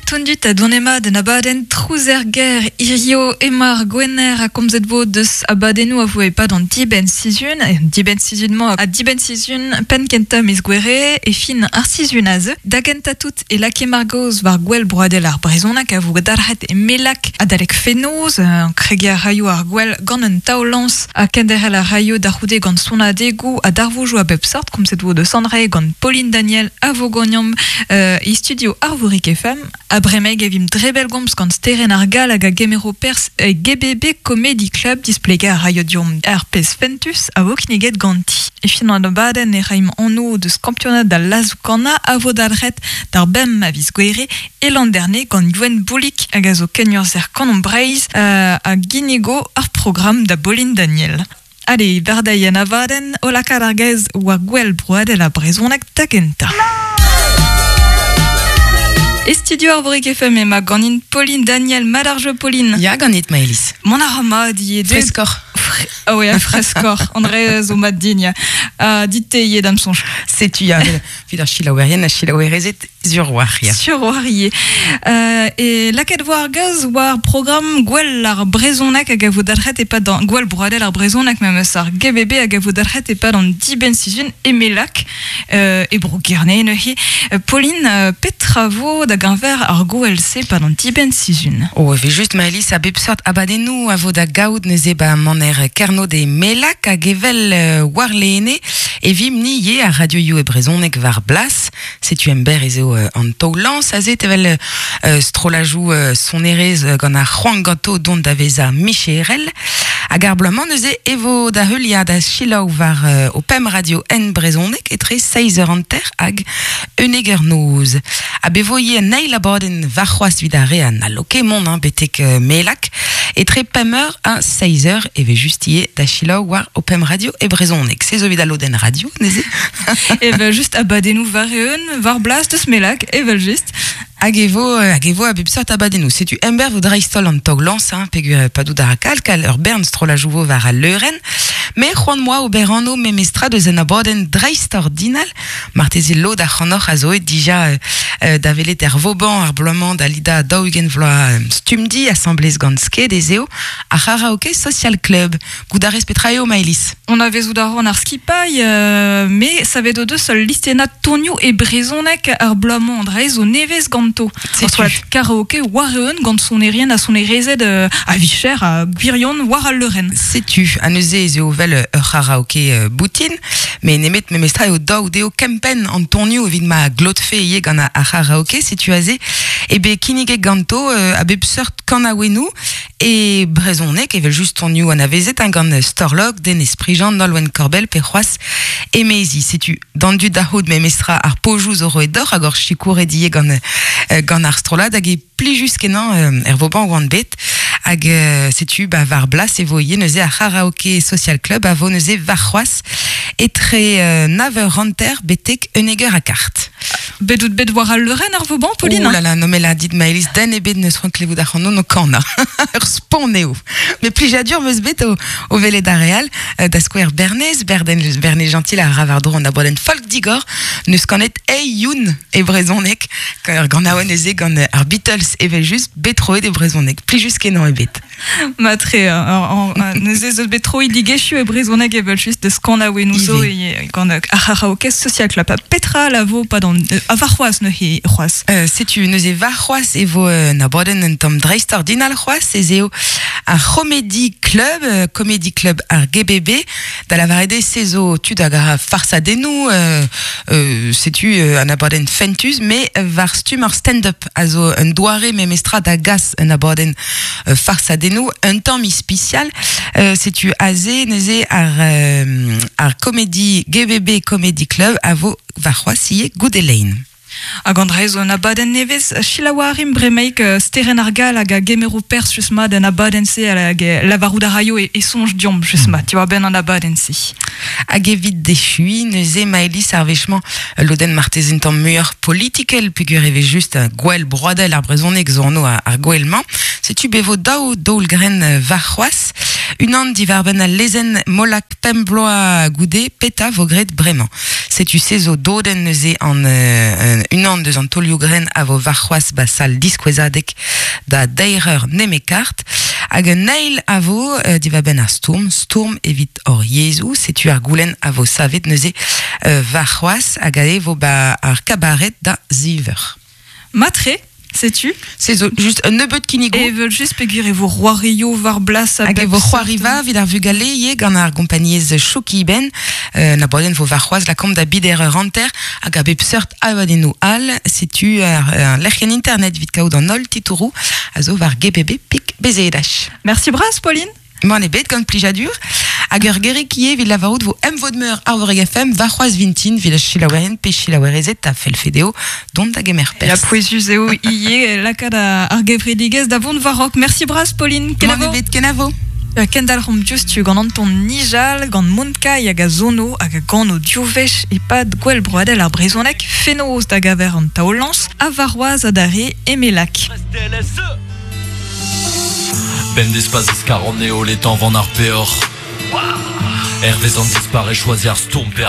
Tondut a donemad en abadenn Trouz er gêr hirio emañ ar Gwener ha komzet vo deus abadennoù a vo e-pad an dibenn-sizhun, an dibenn-sizhun-mañ ha dibenn-sizhun penn kentañ miz Gouere e fin ar sizhun aze. Da gentañ tout e lakae Margoz war gwel broadel ar brezhoneg a vo dalc'het e Melak adalek fenoz. Kregiñ a raio ar gwel gant un taol-lañs ha kenderc'hel a raio da c'houde gant sonadegoù ha darvoudoù a bep seurt. Komzet vo deus André gant Pauline Daniel a vo ganeomp e studio Arvorig FM. Ha bremaik e vimp dre bellgomz gant Sterenn ar Gall hag a gemero perzh e GBB Comedy Club. Displegañ a raio deomp ar pezh fentus a vo kinniget ganti. E fin an abadenn e raimp anv deus kampionad al lazoù-kannañ a vo dalc'het d'ar bemp a viz Gouere e Landerne gant Gwenn Boulig hag a zo kenurzher Kanomp Breizh a ginnigo ar programm da Pauline Daniel. Allez, bardeiñ en abadenn o lakaat ar gaez war gwel broadel ar brezhoneg da gentañ. E studio Arvorig FM emañ ganin Pauline Daniel. Mat ar jeu, Pauline? Ya, ganit, Maëlys. Mont a ra mat ivez. Freskoc'h. Ah ouais, freskoc'h. André zo mat din, ya. Dit-te ivez da'm soñj. Setu, ya, evit ar selaouerien ha selaouerezed Sur war, ya. Sur war ivez. E lakaet vo ar gaoz war programm Gwell ar brezhoneg hag a vo dalc'het e-pad an Gwell broadel ar brezhoneg memes ar GBB hag a vo dalc'het e-pad an dibenn-sizhun e Melak e bro Gerne neuze. Pauline, petra vo da geñver ar gouel-se e-pad an dibenn-sizhun? Oh, e vez just Maëlys a bep seurt abadennoù a vo da gaout neuze ba maner Kernod e Melak hag evel warlene e vimp-ni ivez ar radioioù e brezhoneg war blas. Setu emberr ez eo an taol-lañs aze evel strollajoù sonerezh gant ar c'hoant ganto dont da vezañ micherel. Hag ar bloaz-mañ neuze e vo da heuliañ da selaou war ho pemp radio en brezhoneg etre seizh eur hanter hag unnek eur noz. Ha be vo ivez un eil abadenn warc'hoazh evit ar re a n'hallo ket mont hein, betek Melak. Etre pemp eur ha seizh eur e vez just ivez da selaou war ho pemp radio e brezhoneg. Se zo evit al lodenn radio neuze. Evel just abadennoù war-eeun, war blas deus Melak, evel just. Hag e vo, hag e vo a bep seurt abadennoù. Setu emberr vo dreist-holl an taol-lañs, hein, peogwir padout a ra kalkal ur bern strollajoù vo war al leurenn. Me c'hoant 'moa ober anv memestra deus un abadenn dreistordinal. Marteze lod ac'hanoc'h a zo aet dija da welet er Vauban ar bloaz-mañ da lidañ 40 vloaz Stumdi asambles gant Sked ez eo ar C'haraoke Social Club. Goût a rez petra eo, Maëlys? Anavezout a ran ar skipailh, me savet o deus ul listennad tonioù e brezhoneg ar bloaz-mañ dre zo nevez ganto. Setu. Karaoke war-eeun gant sonerien ha sonerezed a-vicher ha gwirion war al leurenn. Setu, ha neuze ez eo vel ur c'haraoke boutin, met nemet memestra eo dav dezho kempenn an tonioù evit ma glotfe ivez gant ar c'haraoke. Setu aze eo bet kinniget ganto a bep seurt kanaouennoù E brezhoneg, evel-just tonioù anavezet hein, gant Storlog, Denez Prigent, Nolwenn Korbell pe c'hoazh emezi. Setu d'an dud da c'hoût memestra ar pojoù zo roet deoc'h hag hor sikouret ivez gant, gant ar strollad hag e plijus-kenañ er Vauban oan bet. Hag setu ba war blas e vo ivez neuze ar C'haraoke Social Club a vo neuze warc'hoazh etre nav eur hanter betek unnek eur ha kart. Bet out bet war al leurenn ar Vauban, Pauline Oh là là, non mais là, dit Maëlys, den ebet n'eus c'hoant klevout ac'hanon o kanañ. Ur spont eo. Mais plijadur 'm eus bet o, o welet ar re all. Da skouer Bernez, Berden, Bernez Gentil a ra war-dro an abadenn folk digor, n'eus kanet Hey Youn e brezhoneg, ur ganaouenn neuze gant ar Beatles evel-just, bet troet e brezhoneg. Plijus-kenañ eo bet. Matre, neuze zo bet troidigezhioù e brezhoneg evel-just deus kanaouennoù zo gant ar c'haraoke Social Club. Petra la vo pad an warc'hoazh neuze c'hoazh? Setu neuze warc'hoazh e vo un abadenn un tamm dreistordinal c'hoazh ez eo ar Comedy Club, Comedy Club ar GBB, da lavaret eo se zo tud hag a ra farsadennoù, setu un abadenn fentus, met war stumm ar stand-up a zo un doare memestra da gas un abadenn farsadennoù un tamm ispisial. Setu aze neuze ar, ar Comedy GBB Comedy Club a vo warc'hoazh ivez goude lein. Hag an dra zo un abadenn nevez. Selaou a rimp bremaik Sterenn ar Gall hag a gemero perzh just mat en abadenn-se hag lavarout a raio e soñj deomp just mat diwar-benn an abadenn-se. Hag evit echuiñ neuze Maëlys ar wech-mañ ul lodenn marteze un tamm muioc'h politikel peogwir e vez just gwell broadel ar brezhoneg zo anv ar gouel-mañ. Setu bet vo daou daol-grenn warc'hoazh. Unan diwar-benn al lezenn Molac pemp bloaz goude petra vo graet bremañ. Setu se zo doden neuze an unan deus an tolioù gren a vo varc'hoaz ba sal diskouezadek da deir nemekart. Hag un eil a vo diva ben ar stourm, stourm evit hor yezhoù, setu ar goulenn a vo savet neuze varc'hoaz hag a vo ba ar kabaret da ziver. Matre, sais-tu? C'est zo just un nebeut kinnigo. Evel just peogwir e vo c'hoario war blas a Hag e vo c'hoariva evit ar vugale ivez gant ar gompagnez Choukiben. Na boadenn vo varc'hoaz lakaomp da bider ur hanter hag a bep seurt abadennoù all. Setu ar lec'hienn internet evit kaout an holl titouroù a zo war gbb pik bezedach. Merci bras, Pauline. M'en e bet gant plijadur. Hag ur gerik ivez evit lavarout vo emvod-meur Arvorig FM varc'hoaz vintin evit ar selaouerien pe selaouerezed a fellfe dezho dont da gemer Ya perzh. pouezus eo ivez lakaat ar gevredigezh da vont war-raok. Merci bras, Pauline. M'en e bet kenavo. Kendalc'homp diouzhtu gant Anton Nijal, gant Monkai hag a zono hag a gano div wech e-pad gwell broadel ar brezhoneg fenoz da gaver an taol-lañs ha warc'hoazh adarre e Melak. Ben d'espace iskar an eo les temps van ar peoc'h. Hervez an dispare choisir ar stourm pe